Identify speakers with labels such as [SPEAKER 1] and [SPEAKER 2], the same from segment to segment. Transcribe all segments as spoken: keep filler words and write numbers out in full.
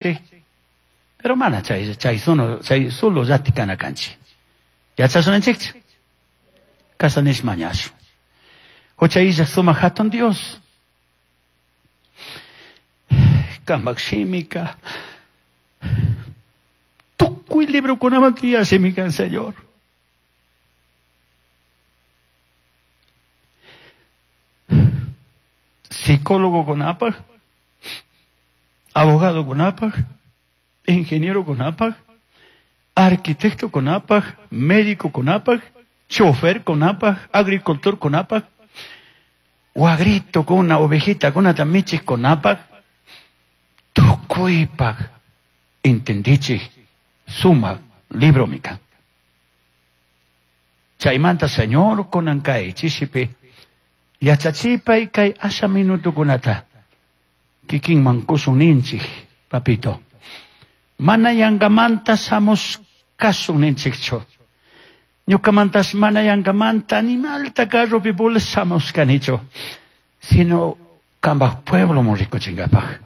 [SPEAKER 1] Pero mana chay chay solo chay solo llatikana kanchik. Yachasunanchikchu. Kasanish mañashu. Hucha illaj sumak hatun Dios. Kampak shimika. Tukuy librokunaman tiyashimi kan, Señor. Psicólogo kunapaj, abogado kunapaj, ingeniero kunapaj, arquitecto kunapaj, médico kunapaj, chofer kunapaj, agricultor kunapaj, wagrito kuna, ovejita kuna, tamichis kunapaj, tukuypaj, entendichis, suma libro mika. Chaymanta Señor kunankay chishipi, yachachipay kay asha minuto kunata, kikinman kusun ninchik, papito. Mana yangamanta samos kasun ninchikchu. Ñukamantas mana yangamanta animalta carropi bolsamos kanichu. Sino kambaj pueblo mon rikuchinkapaj.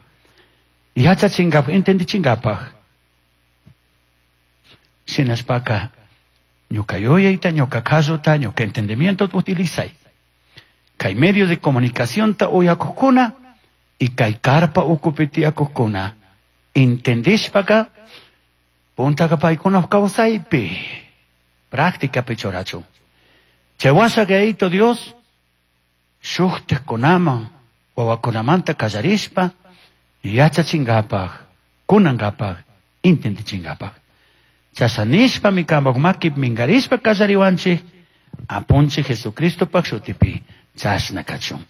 [SPEAKER 1] Yachachinkapaj, entendichinkapaj. Sinaspaka ñuka yuyayta, ñuka kasuta, ñuka entendimiento utilizay. Kay medio de comunicación ta uyakukuna y kay carpa ukupi tiyakukuna. Entendishpaka puntaka paykuna kawsaypi práctica pichorachu. Chaywasha kayto Dios shuktiqkunaman wawakunamanta kallarishpa yachachinkapaj, kunankapaj, entendichinkapaj. Chashanishpami kampak maki minkarishpa kallariwanchik apunchik Jesucristopaj shutipi chashna kachun.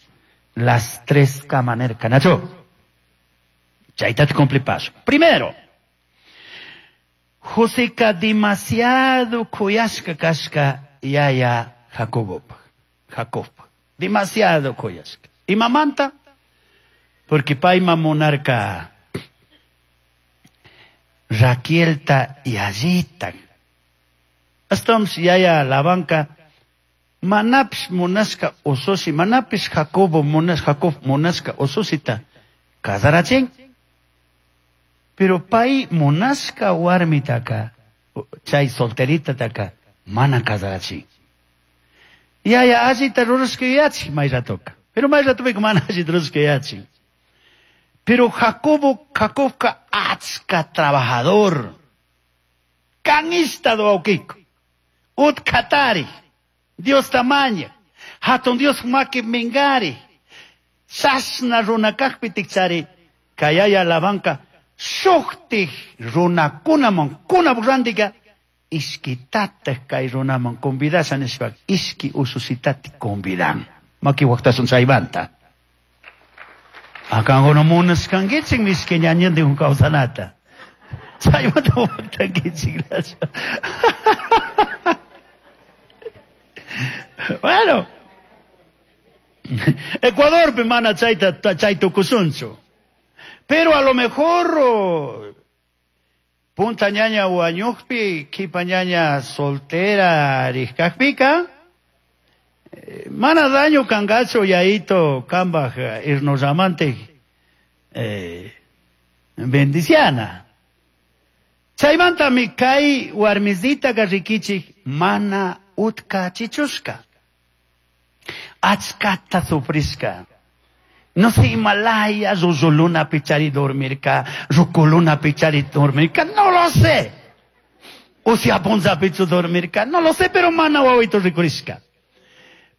[SPEAKER 1] Las tres kamanerka nachu. Chayta te cumplipaso. Primero, Joseca demasiado kuyashka kashka yaya Jacobopaj. Jacob. Demasiado kuyashka. ¿Y mamanta? Porque payma monarca Raquelta y allita. Hasta yaya Labanca manapis monasca ososi, manapis Jacobo monas Jacob monasca ososita casarachin. Pero pay monasca warmitaka, chay solterita taka, mana casarachin. Yaya allita rurashka yachi mayratoka. Pero mayratoka mana allita rurashka yachi. Pero Jacobo, Jacobka achka trabajador. Canista do aukiko. Utkatari. Dios tamaña. Hatun Dios maki mingari. Sasna runakakpi tikchari. Kayaya Labanka. Shuktik runakunaman kunapurantika. Iskitataj kay runaman convidashan nishpa. Iski ususitati convidan. Maki waqtasun chaymanta. Akango no munaskankichik miski ñañantin kawsanata. Chaymanta waqtankichik. Bueno. Ecuador mana chayta chaytukusunchu. Pero a lo mejor oh, punta ñaña wañuqpi, kipa ñaña soltera riskaqpika, eh, mana daño kangacho yaito kambaj irnosamante eh, bendiciana. Chaymanta mi kay warmizita rikichik mana utka chichushka. Achkata sufrishka. No sé, Himalaya, Zuzuluna pichari dormirka, Rukuluna pichari dormirka, no lo sé. O si apunza pichu dormirka, no lo sé, pero mana wawito rikurishka.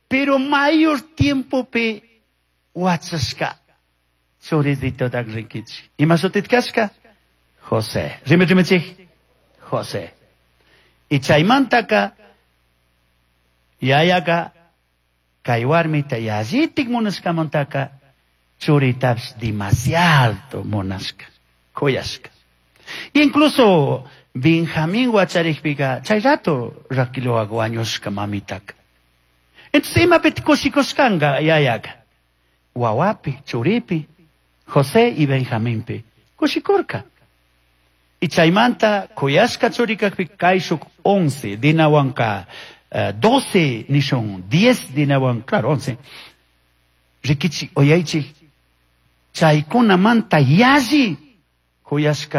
[SPEAKER 1] Pero mayor tiempo pe wachashka. Churizito tak rikichi. Ima shutitkashka? José. Rime rime José. Y chaymantaka, yayaka, kay warmita yallitik munashkamantaka, churitapish demasiado munashka, kuyashka. Incluso Benjamín wacharikpika, chay rato Raquelwaqa wañushka mamitaka. Entonces imapiti kushikushkanka yayaka. Wawapi, churipi, José y Benjaminpi, kushikurka. Y chaymanta kuyashka churikakpi kayshuk once, dinawanka uh, doce, nishun diez dinawan, claro, once. Rikichi, oyaychi, chaykunamanta yalli C'uyashca